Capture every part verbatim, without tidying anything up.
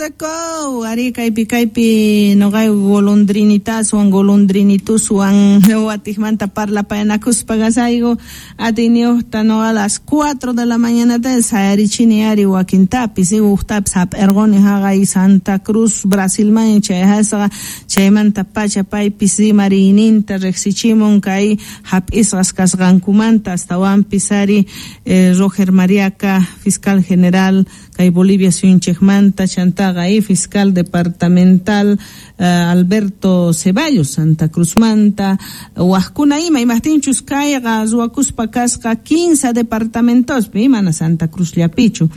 Rico, ari kaypi kaypi noqay golondrinitaswan golondrinituswan watikmanta parlapayanakuspa kasayku atiyniyuqta noqa a las cuatro de la mañana ta sayarichini ari wakintapis uqtapis hap'irquni haqay Santa Cruz Brasilman chayasqa chaymanta pacha paypis rimariyninta riqsichimun kay hap'isqas kasqankumanta astawanpis ari eh, Roger Mariaca, fiscal general kay Bolivia suyunchikmanta chantaqa y fiscal departamental uh, Alberto Ceballos Santa Cruzmanta wajkuna ima imajtinchus kayqa ruwakuspa kasqa quince departamentospi mana Santa Cruzllapichu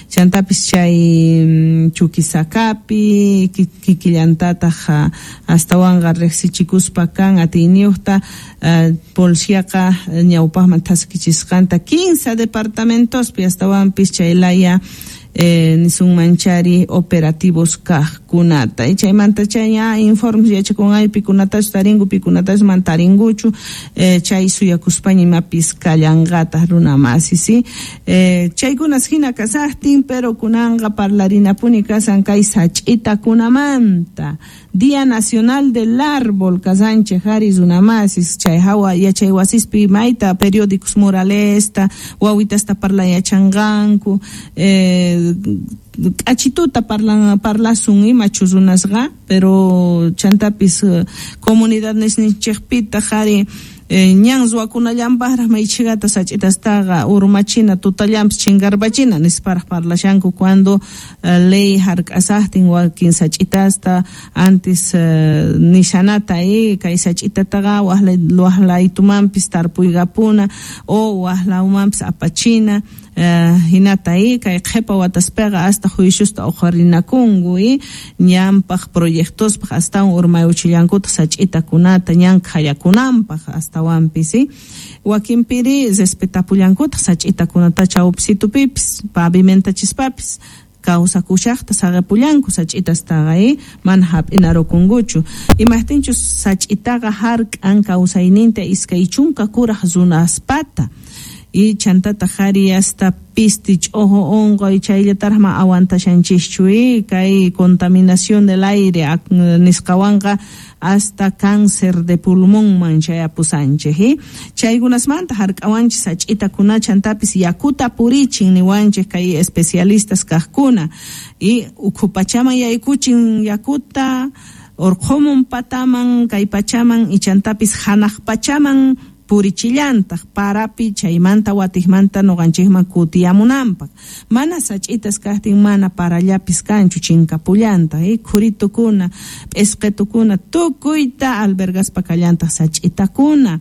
chantapis chay Chuquisacapi kikillantataq astawanqa riqsichikuspa kan atiyniyuqta uh, policiaqa ñawpaqman thaskichisqanta quince departamentospi astawanpis chay laya Eh, nisunmanchari operativos kajkunata y chaymanta chay ña informes yachakunay pikunatachu taringu pikunatachu man taringuchu eh, chay suyakuspaña imapis kallanqataq runa masi si eh, chaykunas hina kasaqtin pero kunanqa parlarinapuni kasan kay sach'itakunamanta Día Nacional del Árbol kasanchej ari runa masis chay hawa yachay wasispi mayta periódicos muralesta wawitasta parla yachanqanku eh, k'achituta parlan parlasun imachu runasqa pero chantapis comunidad nisninchikpitaq ari eh, ñan ruwakunallanpaqraq maychikata sach'itastaqa urmachina tutallanpis chinkarpachina nisparaq parlashanku cuando uh, ley hark'asaqtin wakin sach'itasta antes uh, nishanata eh, kay sach'itataqa waqlaytumanpis tarpuykapuna o waqlawmanpis apachina Uh, hinata eh, kay qhipa wataspiqa hasta juiciusta uqharinakunku eh, ñanpaq proyectospaq astawan urmayuchillankutaq sach'itakunata ñan khayakunanpaq astawanpis eh. Wakinpiri respetapullankutaq sach'itakunata chawpisitupipis pavimentachisapis kawsakushaqta saqipullanku sach'itastaqa eh, mana hap'inarukunkuchu imaqtinchus sach'itaqa hark'an kawsayninta iskay chunka kuraq runaspata y chantataq ari hasta pisti ch'ojo unquy chayllataraq ma aguantashanchischu eh, kay contaminación del aire nisqawanqa hasta cáncer de pulmonman chayapusanchik eh. Chaykunasmanta hark'awanchik sach'itakuna chantapis yakuta purichin niwanchik kay especialistas kaqkuna y ukhu pachaman yaykuchin yakuta urqhumun pataman kay pachaman y chantapis hanaq pachaman purichillantaq parapi chaymanta watikmanta nuqanchikman kutiyamunanpaq mana sach'itas kaqtin mana parallapis kanchu chinkapullantaq eh, khuritukuna p'isqitukuna tukuyta albergaspa kallantaq sach'itakuna.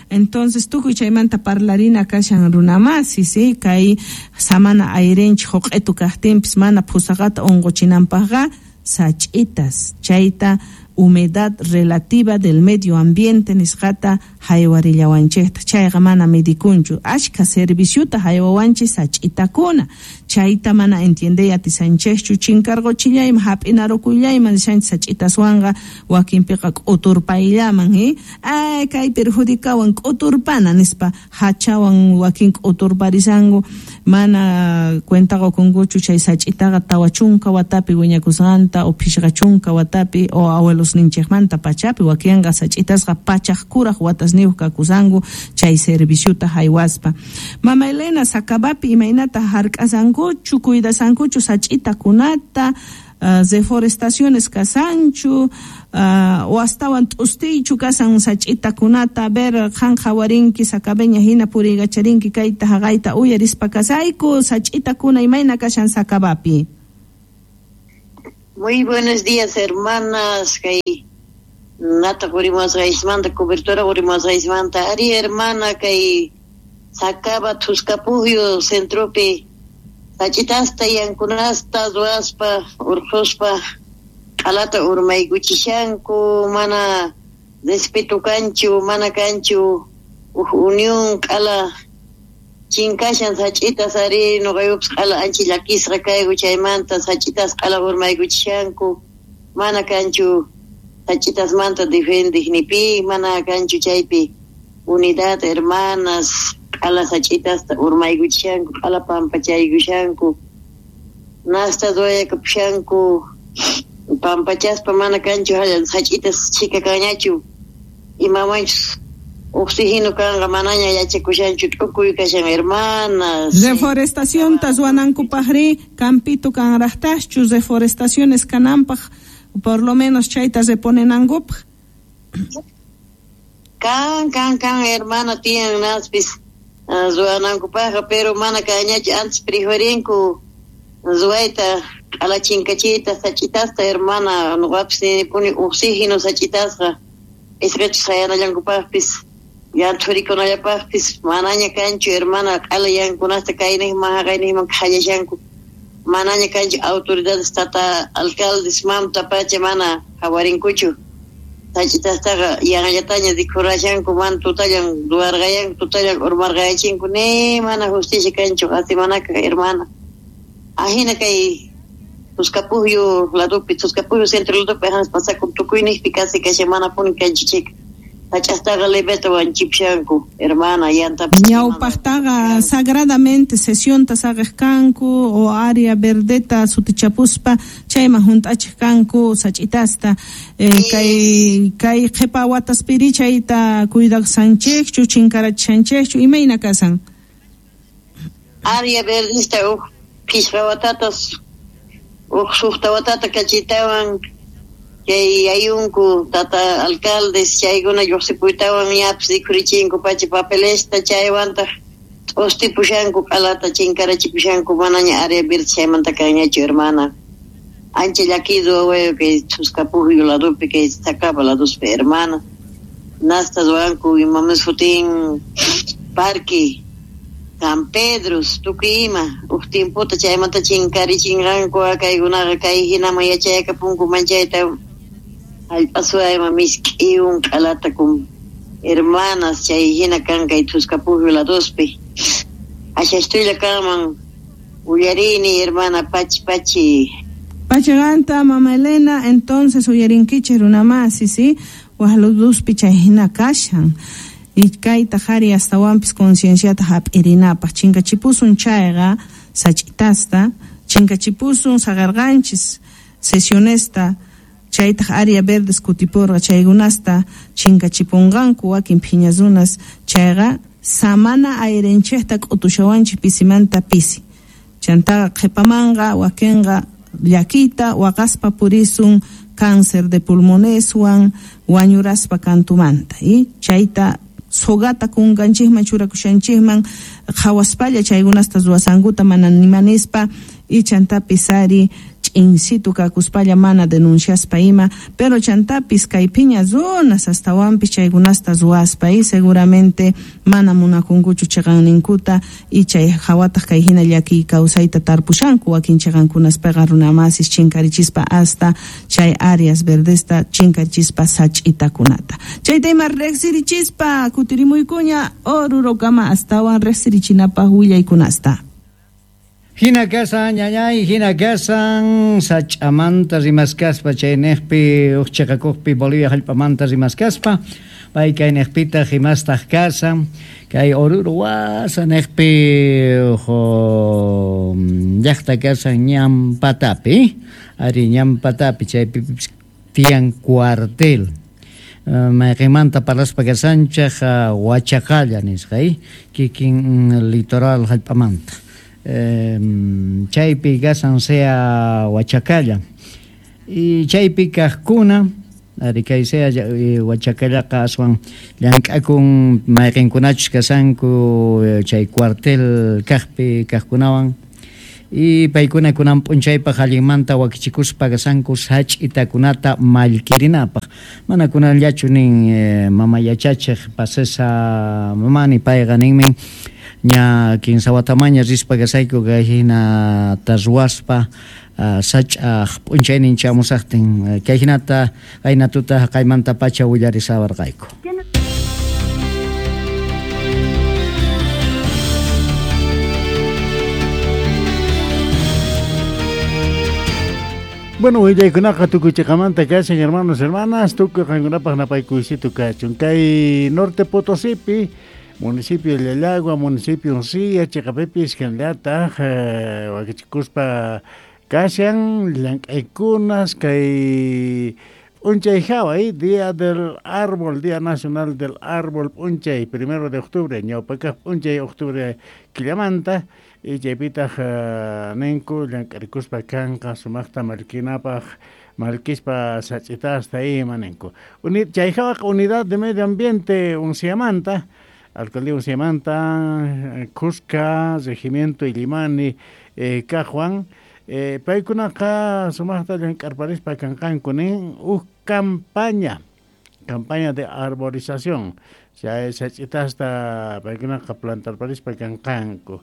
Entonces tukuy chaymanta parlarina kashan runamasi si kay samana ayrinchik huq'itu kaqtinpis mana phusaqata unquchinanpaqqa sach'itas chayta humedad relativa del medio ambiente nisqata haywarillawanchikta chayqa mana midikunchu ashka serviciuta haywawanchik sach'itakuna chayta mana entiendey atisanchikchu chinkarquchillayman hap'inarukuyllaman nishanchik sach'itaswanqa wakinpiqa k'uturpayllaman eh ay kay perjudicawan k'uturpana nispa hachawan wakin k'uturparisanku mana cuenta qukunkuchu chay sach'itaqa tawa chunka watapi wiñakusqanta o phishqa chunka watapi o abuelos ninchikmanta pachapi wakinqa sach'itasqa pachaq kuraq watasniyuq kakusanku chay serviciuta haywaspa. Mama Elena Sakabapi imaynata hark'asankuchu cuidasankuchu sach'itakunata uh, deforestaciones kasanchu uh, o astawan t'ustiychu kasan sach'itakunata a ver qan qhawarinki sakabeña hina puriykacharinki kayta haqayta uyarispa kasayku sach'itakuna imayna kashan Sakabapi. Muy buenos días, hermanas. Kay nata qurimusqaysmanta cobertura qurimusqaysmanta ari hermana kay Sacaba Thusqapujyu centropi sach'itasta yankunasta ruwaspa urqhuspa q'alata urmaykuchishanku mana respeto kanchu mana kanchu uj unión q'ala chinkashan sach'itas ari nuqayupis q'ala ancha llakisqa kayku chaymanta sach'itas q'ala urmaykuchishanku mana kanchu sach'itasmanta defendiq nipi mana kanchu chaypi unidad hermanas q'ala sach'itasta urmaykuchishanku q'ala pampachaykushanku nasta ruwayakapushanku Pampachaspa mana kanchu sach'itas chhika kanñachu imamanchus oxígeno kanqa manaña yachakushanchu t'ukuy kashan hermanas. Reforestacionta ruwanankupaqri campito kanraqtaschu reforestaciones kananpaq por lo menos chayta reponenankupaq. Kan kan kan hermana tiyan naspis ruwanankupaqqa pero mana kanñachu antes preferinku ruwayta q'alachinkachiyta sach'itasta hermana nuqapis ninipuni oxígeno sach'itasqa isqachus hayanallankupaqpis yanthurikunallapaqpis manaña kanchu hermana q'ala yankunasta kayniqman haqayniqman qhallashanku manaña kanchu autoridades tata alcaldes mamta pacha mana hawarinkuchu sach'itastaqa yanllataña rikhurashanku mana tutallan ruwarqayanku tutallan urmarqayachinku ni mana justicia kanchu qasimanaka hermana ajina kay Tuscapujio ladopi Tuscapujio centro ladopi ajas pasakun tukuyniqpi kasi kashan manapuni kanchu chika sach'astaqa lebeta wanchipshanku hermana yantapis ñawpaqtaqa sagradamente sesionta saqej kanku o área verdeta sutichapuspa chayman hunt'achiq kanku sach'itasta eh, kay kay qhipa wataspiri chayta cuidaqsanchikchu chinkarachishanchikchu imayna kasan área verdesta uj phishqa watatas uj suqta watata kachitawan chay ayunku tata alcaldes chaykuna lluqsipuytawan ñapis rikhurichinku pacha papelesta chaywantaq t'ustipushanku q'alata chinkarachipushanku manaña área verde chaymanta kanñachu hermana ancha llakidu wawayu kay Tuscapujio ladopi kay Sacaba ladospi hermana nasta ruwanku imamis sutin parque San Pedro tukuy ima uj tiempota chaymanta chinkarichinqanku kaykunaqa kay hinaman yachayakapunku manchayta hallp'asuayma misk'iwan q'alata kun hermanas chay hina kan kay Tuscapujio ladospi ashastuylla kanman uyarini hermana pachi pachi Pachaganta mama Elena entonces uyarinkichik runamasi sí waj ladospi chay hina kashan y kayta qhari astawanpis concienciata hap'irinapaq chinkachipusun chayqa sach'itasta chinkachipusun saqarqanchis sesionesta chaytaq área verdes kutipurqa chaykunasta chinkachipunqanku wakin phiña runas chayqa samana airenchikta k'utushawanchik pisimanta pisi chantaqa qhipamanqa wakinqa llakita waqaspa purisun cáncer de pulmoneswan wañuraspa kantumanta y chayta sogata kunkanchikman churakushanchikman qhawaspalla chaykunasta ruwasankuta mana nimanispa y chantapis ari ch'insitu kakuspalla mana denunciaspa ima pero chantapis kay phiña runas astawanpis chaykunasta ruwaspa y seguramente mana munakunkuchu chiqanninkuta y chay hawataq kay hina llakiy kawsayta tarpushanku wakin chiqankunaspaqa runamasis chinkarichispa hasta chay áreas verdesta chinkarichispa sach'itakunata chayta ima riqsirichispa kutirimuykuña Orurokama astawan riqsirichinapaq willaykunasta. Hina kasan ñañay, hina kasan sach'amanta rimaskaspa chayniqpi uj chiqakuqpi Bolivia hallp'amanta rimaskaspa pay kayniqpitaq imastaq kasan kay Oruro wasaniqpi uj llaqta kasan ñampatapi ari ñampatapi chaypipis tiyan cuartel mayqinmanta parlaspa kasanchaq Huachacalla nisqa kikin litoral hallp'amanta Eh, chaypi kasan sea Huachacalla y chaypi kaqkuna ari kay sea Huachacallaqa aswan llank'akun mayqinkunachus kasanku chay cuartel kaqpi kaqkunawan y paykuna kunan p'unchaypaq allinmanta wakichikuspa kasanku sach'itakunata mallkirinapaq mana kunanllachu nin eh, mama yachachiq pasesa mamani payqa ninmin ña kinsa watamaña rispa kasayku kay hinata ruwaspa uh, sach'aq p'unchaynin chamusaqtin kay hinata qayna tuta qaymanta pacha willarisawarqayku. Bueno, willaykunaqa tukuy chiqamanta kashan hermanos, hermanas, tukuy qankunapaq napaykuysito kachun kay Norte Potosipi municipio de Llallagua, municipio Uncía, chiqapipis hinallataq wakichikuspa Kashan llank'aykunas kay p'unchay hawa, Día del Árbol, Día Nacional del Árbol p'unchay, primero de octubre, ñawpakaq p'unchay octubre killamanta, y chaypitaq uh, ninku llank'arikuspa kanqa sumaqta mallkinapaq mallkispa sach'itasta ima ninku. Uni, chay hawaqa Unidad de Medio Ambiente Unciamanta, Alcaldía Unciamanta, Cusca, Regimiento Illimani, eh, Cajuan, eh, paykunaqa sumaqta llank'arparispa kanqanku nin uj campaña, campaña de arborización, chay sach'itasta paykunaqa plantarparispa kanqanku.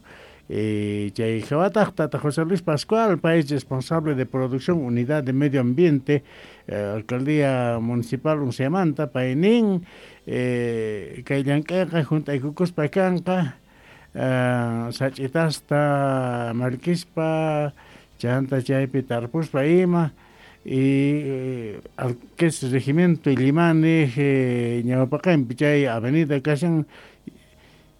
Eh, chay hawataq tata José Luis Pascual, país responsable de producción Unidad de Medio Ambiente, eh, Alcaldía Municipal Unciamanta, paynin eh, kay llank'ayqa junt'aykukuspa kanqa, eh, sach'itasta mallkispa chanta chaypi tarpuspa ima, y eh, al que es Regimiento Illimani, eh, ñawpaqinpi chay avenida kashan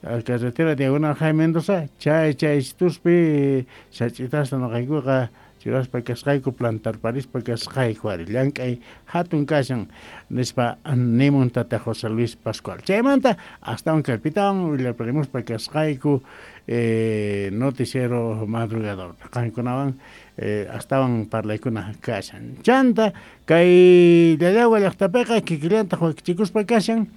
al carretera Diagonal Jaime Mendoza, chay chay tuspi sach'itasta noqaykuqa churaspa kasqayku plantarparispa kasqayku ari llank'ay hatun kashan nispa nimun tata José Luis Pascual. Chaymanta astawan kaypitawan willaparimuspa kasqayku eh, noticiero madrugador qankunawan eh, astawan parlaykuna kashan. Chanta kay Llallagua llaqtapiqa kikillantaq wakichikuspa kashan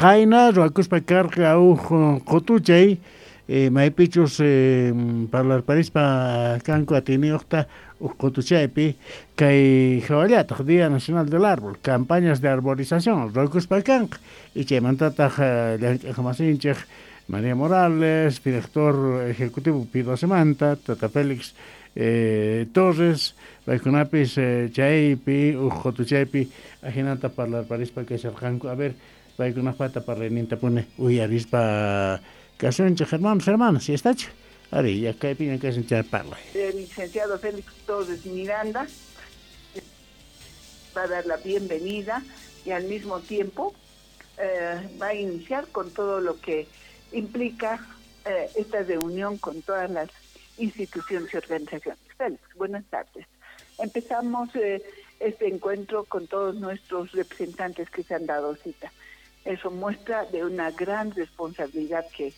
qayna ruwakuspa karqa uj qutuchay eh, maypichus eh, parlarparispa kanku atiniyuqta uj qutuchaypi kay hawallataq Día Nacional del Árbol, campañas de arborización ruwakuspa kanqa y chaymantataq llank'aqmasinchik María Morales, director ejecutivo Pidosemanta, Tata Félix eh, Torres, paykunapis eh, chaypi uj qutuchaypi ajinata parlarparispa kasharqanku. A ver, paykunapata parlayninta pune uyarispa kasunchik hermanos, hermanas, ¿ya está? Ari, ya kaypiña kashan chay parlay. El licenciado Félix Torres Miranda va a dar la bienvenida y al mismo tiempo eh, va a iniciar con todo lo que implica eh, esta reunión con todas las instituciones y organizaciones. Félix, buenas tardes. Empezamos eh, este encuentro con todos nuestros representantes que se han dado cita. Eso muestra de una gran responsabilidad que,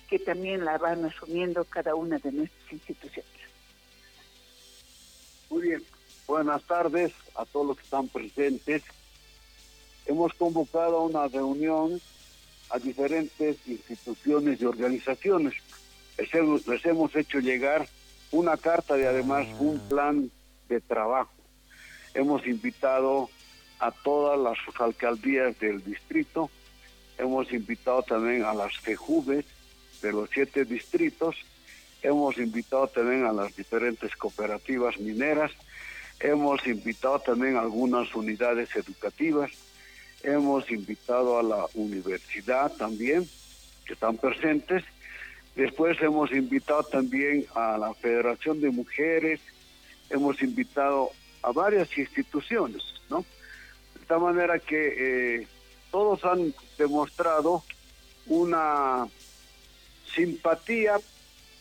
que también la van asumiendo cada una de nuestras instituciones. Muy bien, buenas tardes a todos los que están presentes. Hemos convocado a una reunión a diferentes instituciones y organizaciones. Les hemos, les hemos hecho llegar una carta y además un plan de trabajo. Hemos invitado a todas las alcaldías del distrito, hemos invitado también a las FEJUVES de los siete distritos, hemos invitado también a las diferentes cooperativas mineras, hemos invitado también a algunas unidades educativas, hemos invitado a la universidad también, que están presentes. Después hemos invitado también a la Federación de Mujeres, hemos invitado a varias instituciones, ¿no? De tal manera que eh, todos han demostrado una simpatía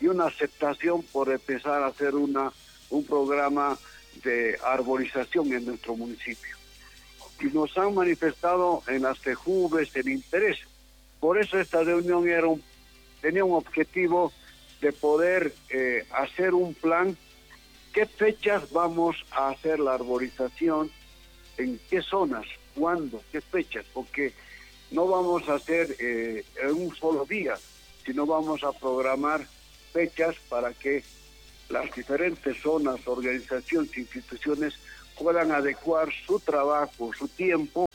y una aceptación por empezar a hacer una, un programa de arborización en nuestro municipio. Y nos han manifestado en las FEJUVES el interés. Por eso esta reunión era un, tenía un objetivo de poder eh, hacer un plan, qué fechas vamos a hacer la arborización, en qué zonas, cuándo, qué fechas, porque no vamos a hacer eh, en un solo día, sino vamos a programar fechas para que las diferentes zonas, organizaciones, instituciones puedan adecuar su trabajo, su tiempo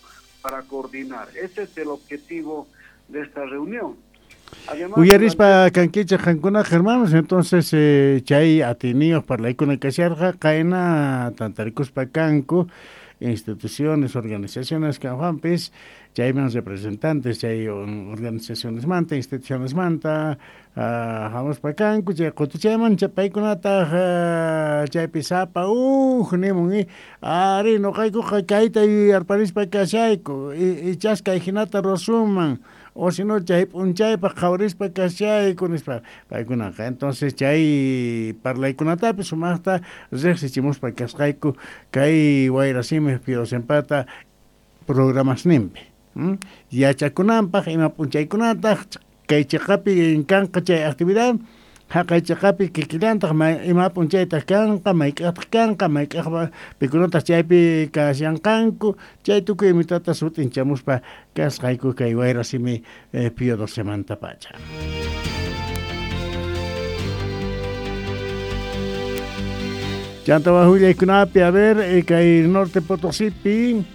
para coordinar. Ese es el objetivo de esta reunión. Además, uyarispa kankichej qankunaq hermanos, entonces eh, chay atiniyuq parlaykuna kasharqa qayna tantarikuspa kanku instituciones, organizaciones kanjuanpis, chayman representantes, chay organizaciones manta, instituciones manta, uh, hamuspa kanku, chay qutuchayman paykunataq uh, chaypi sapa uj nimun i ari noqaykuqa kayta yuyarparispa kashayku ichas kay hinata ruwasunman o si no chay p'unchaypaq qhawarispa kashayku nispa paykunaqa. Entonces chay parlaykunatapis sumaqta riqsichimuspa kasqayku kay Wayrasimi Piosempata programasninpi. ¿Mm? Yachakunanpaq ima p'unchaykunataq kay chiqapi kanqa chay actividad haqay chiqapi kikillantaq ima p'unchaytaq kanqa mayk'aqtaq kanqa mayk'aq pikunataq chaypi kashanqanku chay tukuy imitata sut'inchamuspa kasqayku kay Wayrasimi eh, Pío Docemantapacha. Chanta wajullaykunapi a ver eh, kay Norte Potosipi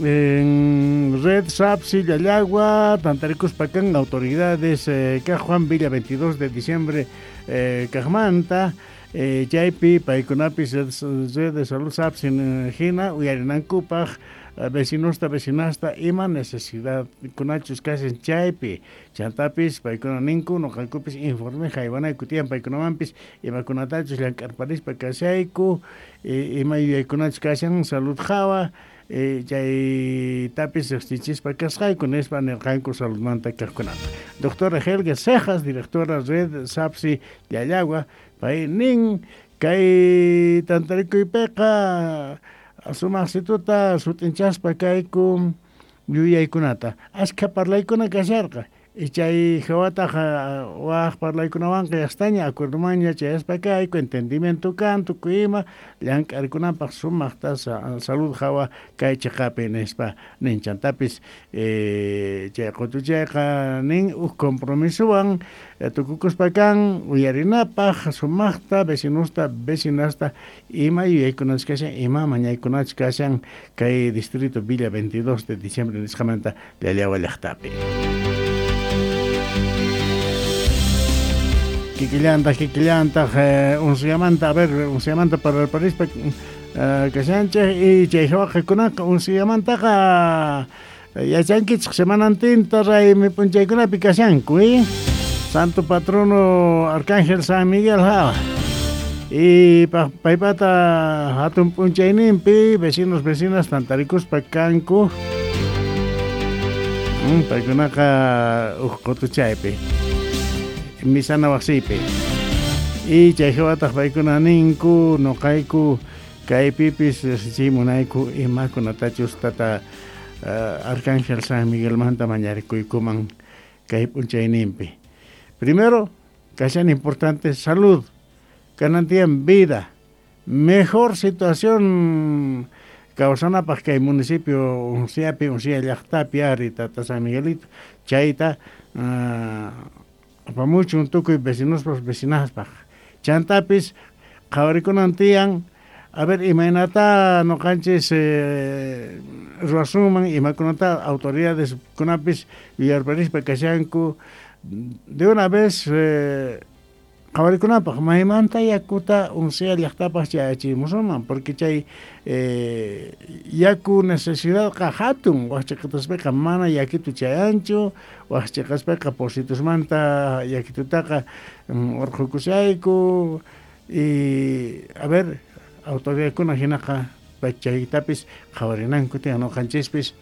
en Red Sapsi, Llallagua, Tantarikuspa kan autoridades eh, Juan Villa veintidós de diciembre eh, Cajmanta, eh, chaypi paykunapis Red de Salud Sapsi hina uyarinankupaj vecinosta vecinasta ima necesidad kunachus kashan chaypi chantapis paykuna ninku noqaykupis informe haywanayku tiyan paykunamanpis imakunatachus llank'arparispa kashayku ima yuyaykunachus kashan salud hawa Eh, chaytapis riqsichispa kasqayku nispa nirqanku saludmanta kaqkunata. Doctora Helga Cejas, directora Red Sapsi Llallagua, pay nin kay tantarikuypiqa sumaqsituta sut'inchaspa kayku yuyaykunata. Ashkha parlaykuna kasharqa. Chay hawataq waj parlaykunawanqa yastaña acuerdomanña chayaspa kayku entendimiento kan tukuy ima llank'arkunapaq sumaqta salud hawa kay chiqapi nispa nin chantapis eh, chay qutuchayqa nin uj compromisowan tukukuspa kan uyarinapaq sumaqta vecinosta vecinasta ima yuyaykunachus kashan ima mañaykunachus kashan kay distrito Villa veintidós de diciembre nisqamanta Llallagua llaqtapi. Kikillantaq, kikillantaq, eh, unsuyamanta, a ver, unsuyamanta parlarparispa eh, kashanchej y chay hawaqikunaqa unsuyamantaqa yachankichik semanantinta raymi p'unchaykunapi kashanku, eh? Santo Patrono Arcángel San Miguel hawa. Y paypata hatun p'unchayninpi vecinos vecinas tantarikuspa kanku mm, paykunaqa uj qutuchaypi misana wasipi y chay hawataq paykuna ninku noqayku kaypipis riqsichimunayku imakunatachus tata uh, Arcángel San Miguelmanta mañarikuykuman kay p'unchayninpi. Primero, kashan importante salud, kanan vida, mejor situación kawsanapaq kay municipio Unciapi, Uncia llaqtapi ari tata San Miguelito, chayta uh, apamuchun tukuy vecinospas vecinaspaq. Chantapis qhawarikunan tiyan a ver imaynata noqanchis eh, ruwasunman imakunata autoridades kunapis yuyarparispa kashanku de una vez eh, qhawarikunapaq maymanta yakuta Uncia llaqtapaq chayachimusunman porque chay eh, yaku necesidadqa hatun waqchiqataspiqa mana yakitu chayanchu waqchiqaspiqa positusmanta yakitutaqa urqhukushayku y a ver autoridadkuna hinaqa chaytapis qhawarinanku tiyan noqanchispis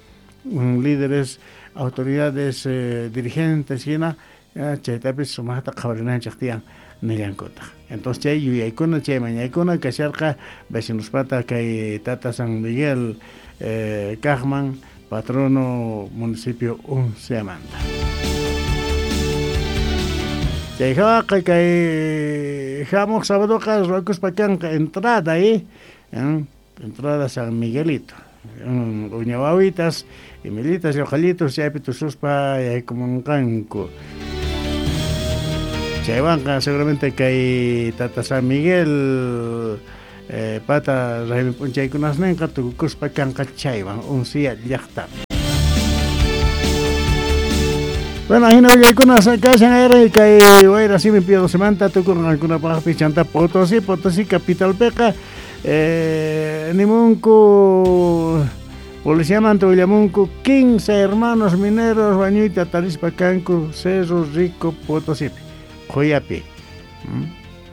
líderes autoridades eh, dirigentes hina chaytapis sumaqta qhawarinanchik tiyan nillankutaq. Entonces chay yuyaykuna chay mañaykuna kasharqa vecinospata kay tata San Miguel eh, kaqman patrono municipio Unciamanta. Chay hawaqa kay hamuq sabadoqa ruwakuspa kanqa entrada eh, entrada San Miguelito. Uña wawitas, imilitas, lloqallitos chaypi tususpa yaykumunqanku. Chaywanqa seguramente kay tata San Miguel eh, pata raymi p'unchaykunasninqa tukukuspa kanqa chaywan Uncia llaqtapi. Bueno, ahina willaykunas kashan ayray kay Wayrasimi Pío Docemanta tukurqankunapaqpis chanta Potosí, Potosí capitalpiqa eh, nimunku policiamanta willamunku quince hermanos mineros wañuyta tarispa kanku Cerro Rico Potosipi. Qoyapi. ¿Mm?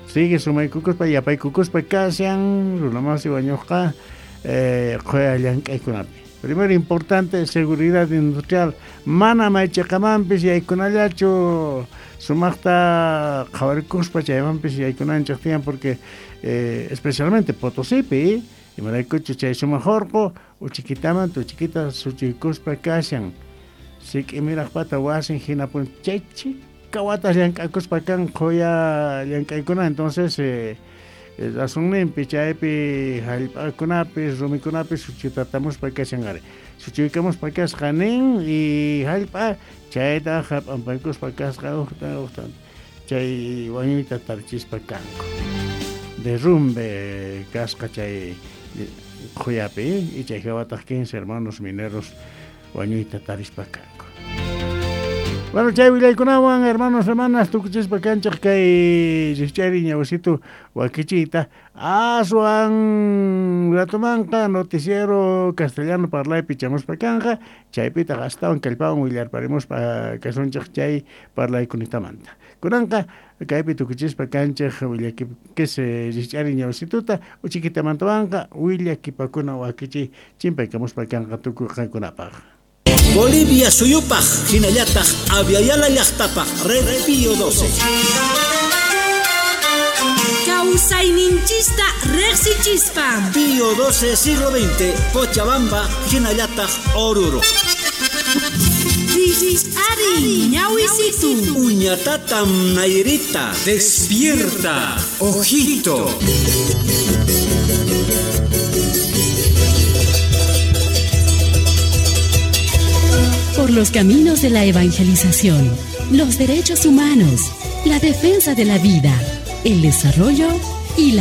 Sigue sumaykukuspa yapaykukuspa kashan runamasi wañuqqa eh, qoya llank'aykunapi. Primero importante, seguridad industrial. Mana maychaqamanpis yaykunallachu sumaqta qhawarikuspa chaymanpis yaykunanchik tiyan porque eh, especialmente Potosipi, imaraykuchu chay sumaq urqu uchikitamanta uchikita suchuykuspa kashan. Sik'imiraqpata wasin hinapun chay chika watas llank'akuspa kan qhuya llank'aykuna entonces eh, razonninpi chaypi hallp'akunapis rumikunapis suchuytatamuspa kashan ari. Suchuykamuspa kasqa nin y hallp'a chayta p'ampaykuspa kasqa uqta uqta chay wañuyta tarichispa kanku. Derrumbe kasqa chay qhuyapi y chay hawataq quince hermanos mineros wañuyta tarispa kanku. Bueno, chay willaykunawan hermanos, hermanas, tukuchispa kanchaq kay rikch'ari ñawisitu wakichiyta aswan ratumanqa noticiero castellano parlaypi chamuspa kanqa chaypitaq astawan kallpawan willarparimuspa kasunchaq chay parlaykunatamanta. Kunanqa kaypi tukuchispa kanchaq willakipkis rikch'ari ñawisituta uchikitamantawanqa willakipakuna wakichiy chimpaykamuspa kanqa tukuy qankunapaq. Bolivia suyupaj, hinallataq Aviala llaqtapaq, Red Pío doce. Kawsayninchista riqsichispa. Pío doce siglo veinte, Cochabamba, hinallataq Oruro. Ari, ñawisitu. Uñatatam Nairita. Despierta, ojito. Por los caminos de la evangelización, los derechos humanos, la defensa de la vida, el desarrollo y la